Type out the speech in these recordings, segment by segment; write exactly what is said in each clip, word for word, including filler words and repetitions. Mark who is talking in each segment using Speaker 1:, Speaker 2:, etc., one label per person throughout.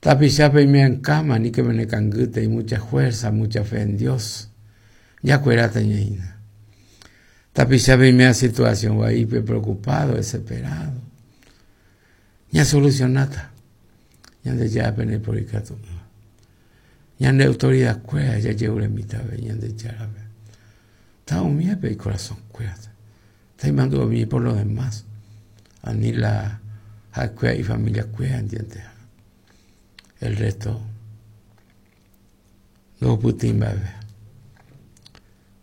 Speaker 1: Tapichape y me en cama, ni que me ne canguite, y mucha fuerza, mucha fe en Dios. Ya cuerata ñaina. Tapichape y me situación ahí, preocupado, desesperado. Ya solucionata. Ya de ya pene por ikatu. Ya de autoridad cuera, ya llevo la mitad, ya de ya. Está humilde el corazón, cuérate. Está mando a mí por lo demás. A ni la y familia cuera, ¿entiendes? El resto, no putin bebe.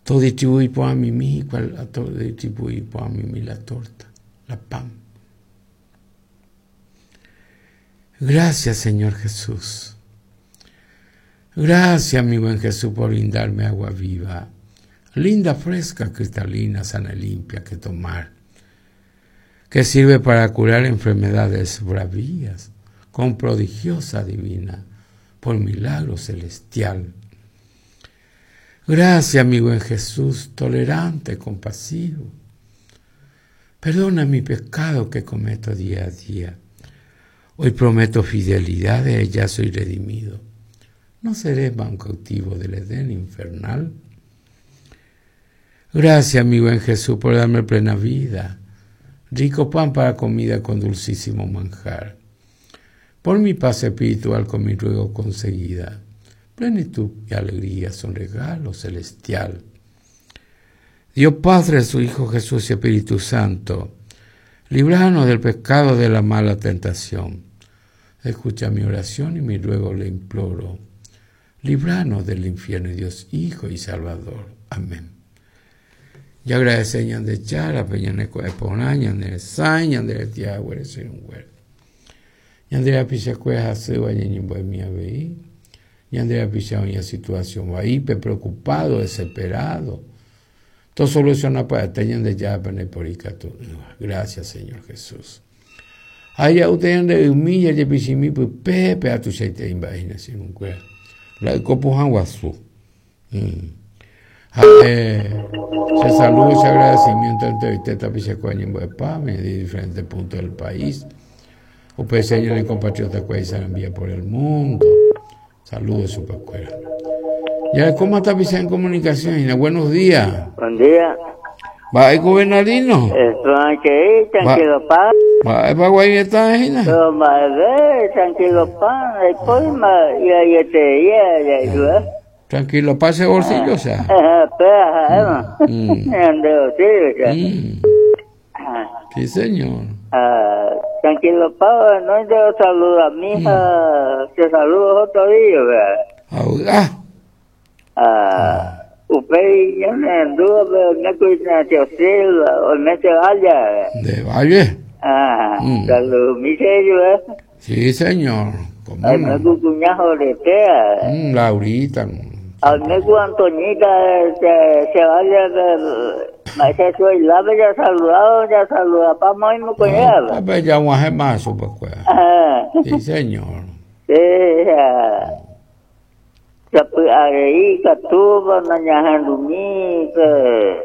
Speaker 1: Todo distribuí por a mí, cual todo distribuí por a mí la torta, la pan. Gracias, Señor Jesús. Gracias, mi buen Jesús, por brindarme agua viva, linda, fresca, cristalina, sana y limpia que tomar, que sirve para curar enfermedades bravías, con prodigiosa divina, por milagro celestial. Gracias, mi buen Jesús, tolerante, compasivo. Perdona mi pecado que cometo día a día. Hoy prometo fidelidad, de ella soy redimido. No seré más un cautivo del Edén infernal. Gracias, mi buen Jesús, por darme plena vida, rico pan para comida con dulcísimo manjar. Por mi paz espiritual con mi ruego conseguida, plenitud y alegría son regalo celestial. Dios Padre, su Hijo Jesús y Espíritu Santo, líbranos del pecado de la mala tentación. Escucha mi oración y mi ruego le imploro. Líbranos del infierno, Dios Hijo y Salvador. Amén. Y agradece de Chara, Peñaneco de Ponaña, de Saña, de Tiago, eres un güero. Ñandera picha cueja se ñimbo mía veí. Ñandera picha una situación ahí, preocupado, desesperado. Todo soluciona para teñan de ya pene por icatu. Gracias, Señor Jesús. Ay, usted de humilla ye pichimi pues pepe a tu seite imagina sin un cuera. La copo hanguasu. Eh, se saludo, ese agradecimiento entre usted tapicha cueja ñimbo de pame de diferentes puntos del país. Ustedes señores compatriotas que se envía por el mundo. Saludos, su pascuera. Ya, ¿cómo está pisando en comunicación? Buenos días.
Speaker 2: Buen día.
Speaker 1: ¿Va el gobernadino?
Speaker 2: Estoy tranquilo, pa.
Speaker 1: ¿Va el guay está ahí?
Speaker 2: Tranquilo, pa.
Speaker 1: Tranquilo, pa ese bolsillo, o sea. Sí, señor.
Speaker 2: Tranquilo, pa, no yo saludo a mi hija, te saludo otro día, ¿verdad?
Speaker 1: Ah.
Speaker 2: Ah, usted ya me anduvo, pero no cuida de Silva, o no se vaya.
Speaker 1: De Valle.
Speaker 2: Ah, saludo, mi señor, ¿verdad?
Speaker 1: Sí, señor. ¿Cómo
Speaker 2: no? Al mi cuñado de Tea.
Speaker 1: Mm, Laurita.
Speaker 2: Al mi Antoñita se, se vaya del... Maese soy la ya saludado, ya saluda pa muy muy con ella.
Speaker 1: Pues ya un más pues. Sí, señor.
Speaker 2: Sí, ya pues ahí catuba nañahandumi que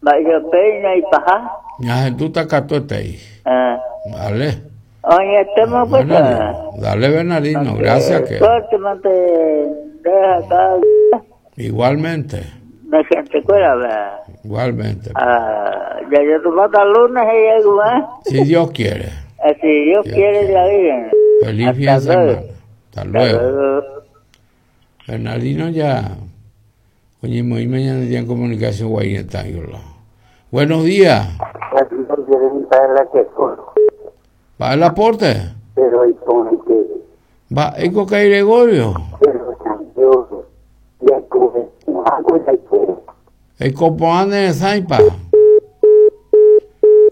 Speaker 2: vaya peña y paja.
Speaker 1: Ñahendu ta ahí.
Speaker 2: Ah.
Speaker 1: Vale.
Speaker 2: Oye, estamos pues.
Speaker 1: Dale, Bernardino, gracias que.
Speaker 2: Deja acá.
Speaker 1: Igualmente.
Speaker 2: Me siento cuera, ¿verdad?
Speaker 1: Igualmente.
Speaker 2: Ah, ya yo tomo hasta lunes y llego, ¿eh?
Speaker 1: Si Dios quiere.
Speaker 2: Si Dios, Dios quiere, quiere, ya bien.
Speaker 1: Feliz fin de semana. Hasta luego. Hasta luego. Bernardino ya. Oye, muy mañana día en comunicación guayneta. Buenos días. ¿Va el aporte? ¿Va el coca y Gregorio? El copoán de Saipa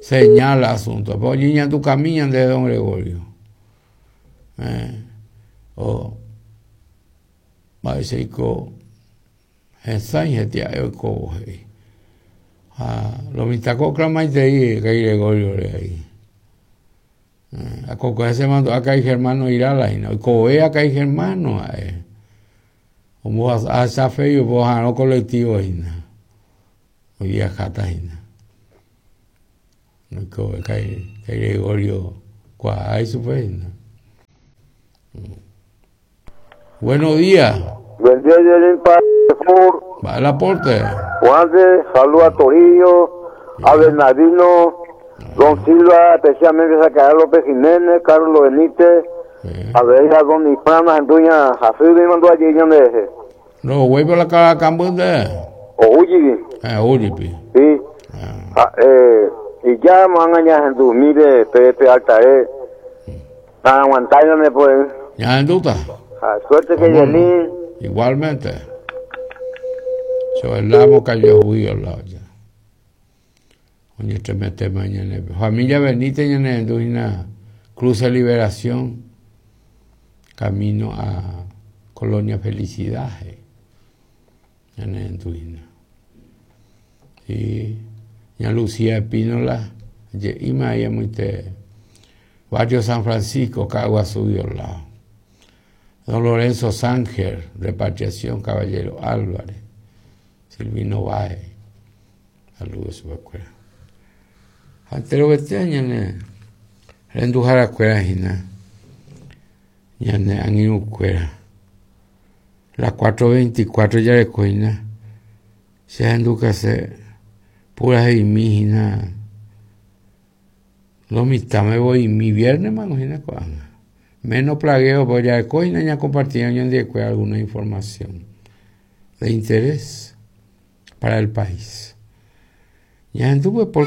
Speaker 1: señala asunto. Pues niña tu camino de don Gregorio. Eh, o va a decir que lo mitacó clamaite ahí, que Gregorio de ahí. A coco se mandó acá hay germano irala y no coe acá hay germano eh. Como a esa fe yo pues a no colectivo ahí no. Hoy día jata ahí no. No coe que Gregorio cuá hay su fe no. Buenos días.
Speaker 3: Buen día, Yelin
Speaker 1: Va el aporte.
Speaker 3: Juan de, saludo a Torillo, a Bernardino, Don Silva, especialmente a Carlos López Jiménez, Carlos Benítez, a ver a Don Ifrana, Anduña, así me mandó allí, donde
Speaker 1: No, voy por la cara de.
Speaker 3: O Ujibi.
Speaker 1: Ah, Ujibi.
Speaker 3: Sí. Ah. Eh, y ya me van a añadir mire, Pepe Altae. Aguantándome, pues.
Speaker 1: Ya, en.
Speaker 3: Ah, suerte que Yelin.
Speaker 1: Igualmente. Yo el amo cayó juicio al lado ya. Oye, este mete mañana. Familia Benítez, ñane, Cruz de Liberación, camino a Colonia Felicidad. Ñane, Sí. Ña Lucía Espínola, ima ella muy te. Barrio San Francisco, Cagua subió al lado. Don Lorenzo Sánger, Repatriación, Caballero Álvarez, Silvino Báez, saludos su escuela. Antero que ñane, rendujara escuela hina, ñane anginu escuela. Las cuatro veinticuatro ya le coina, se anduca se pura y mi hina. Lo mitad me voy mi viernes mano hina coana. Menos plagueo, pues ya coina ya compartía de alguna información de interés para el país. Ya anduve por